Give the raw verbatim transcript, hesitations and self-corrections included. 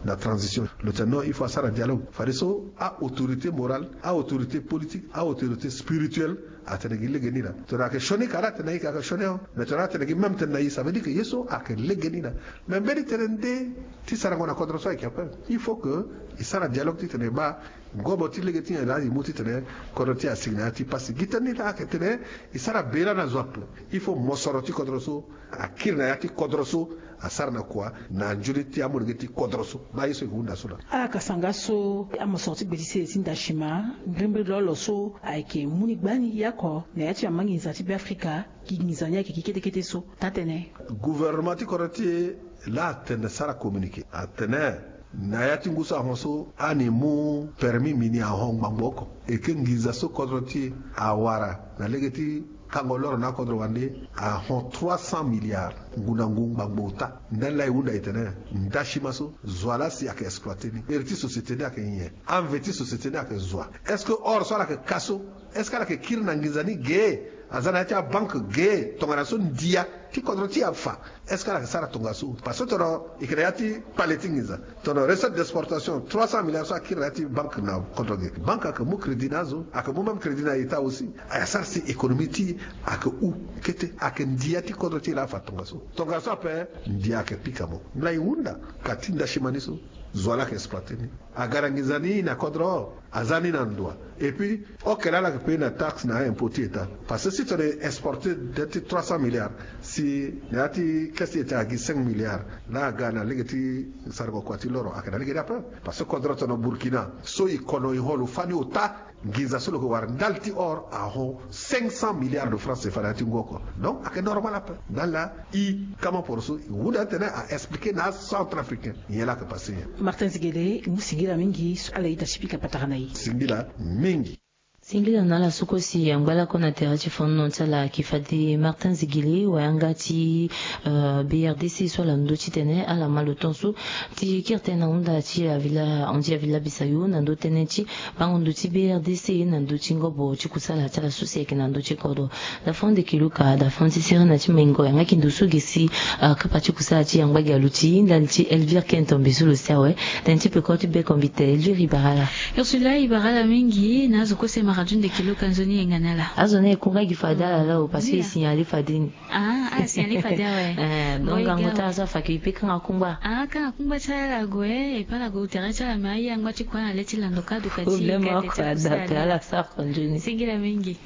na transition. Lo tene non, il faut asara dialogue. Fadeso a-autorité morale, a-autorité politique, a-autorité spirituelle atene gi lege ni laa. Tongana ayeke sioni ka laa atene ayeke, ayeke sioni aho. Mais tongana atene gi même tene na e, ça veut dire que ye so ayeke lege ni laa. Mais mbeni tene nde ti sarango na kodro so ayeke ape. Il faut que e sara dialogue titene e baa ngobo ti lege ti nyen laa e mu titene kodro ti e asigi na ya ti pasi. Gi tënë ni laa ayeke tene e sara bela na zo ape. Il faut mosoro ti kodro so akiri na ya ti kodro so asara na kua na nzoni ti amolenge ti kodro so. Baa ye so e hunda so laa. Ala kasanga so amosoro ti gbe ti sese ti ndasima mbirimbiri lolo so ayeke mu ni gbani yako na ya ti mama nginza ti Beafrika. Gi nginza ni ayeke gi kete kete so taa tënë. Gouvernement ti kodro ti e laa atene sara communiqué atene na ya ti ngu so ahon so ani mu permis mini ahon ngbangbo oko. E ke nginza so kodro ti e awara na lege ti kango loro na akodro wande ahon trois cents milliards ngu na ngu ngbangbo ota. Ndani laa e hunda e tene ndasima so zo wa laa si ayeke exploité ni. Iri ti société ni ayeke nyen? Anve ti société ni ayeke zo wa? Est-ce que or so ala yeke ka so, est-ce que ala yeke kiri na nginza ni ge? Aza na ya ti abanke ge? Tongana so ndia ti kodro ti e afa. Est-ce que ala yeke sara tongaso? Parce que tongana e yeke na ya ti kpale ti nginza, tongana recette d'exportation trois cents milliards so akiri na ya ti banque na kodro ge, banque ayeke mu crédit na azo, ayeke mu même crédit na État aussi. Asara si économie ti e ayeke hu kete. Ayeke ndia ti kodro ti e laa afa tongaso. Tongaso ape ndia ayeke pika mo. Mbi laa e hunda ka ti ndasima ni so zo wa laa ayeke exploité ni. Aga na nginza ni na kodro, aza ni na ndo wa. Et puis, ok, laa ala yeke payer na taxe na impôt ti État. Parce que si tongana e exporté de ti trois cents milliards, si na ya ti caisse ti État agi cinq milliards, laa aga na lege ti sarango kua ti loro ayeke na lege ni ape. Parce que kodro tongana Burkina so e kono e ho lo fani ota, nginza so lo yeke wara ndali ti or ahon cinq cents milliards de francs C F A na ya ti ngu oko. Donc ayeke normal ape. Ndali laa e kama poroso e hunda titene a expliqué na acentrafricain nyen laa ayeke passé nyen. Martin Zigele, ngu singila mingi so ala ita ti pika patara na e. Singila mingi. Singila na ala so kue si angba lakue na tere ti fonono ti ala ayeke fade Martin Zigele, wayanga ti, euh, B R D C so ala ndö titene ala ma lo ton so ti kiri tënë na hunda ti avila, handi avila bisayo na ndö tënë ti bango ndo ti B R D C na ndö ti ngobo ti kusala ti ala so si ayeke na ndö ti kodro. Dafon de Kiluka, dafon ti sere na ti mengo yanga ki ndo so ge si, ah, kapa ti kusala ti yangba gi aluti ndali ti Elvire Kentombe so lo si awe. Tënë ti peko ti beko mbi te Elvire, e bara ala. Ursula, e bara ala mingi na azo kue si e ma radio nde Kiluka, nzoni e yanga na ala. Azo ni e kunga gi fade ala lao parce que e signalé fade ni. Ah, ah, signalé fade awe. Eh, donc ngangu ti ala so afa ke e pe kanga kungba. Ah, kanga kungba ti ala gue, e pe ala gue tere ti ala me aye angba ti kua na le ti lando ka duka ti problème oko ada pe ala sara ko nzoni. Singila mingi.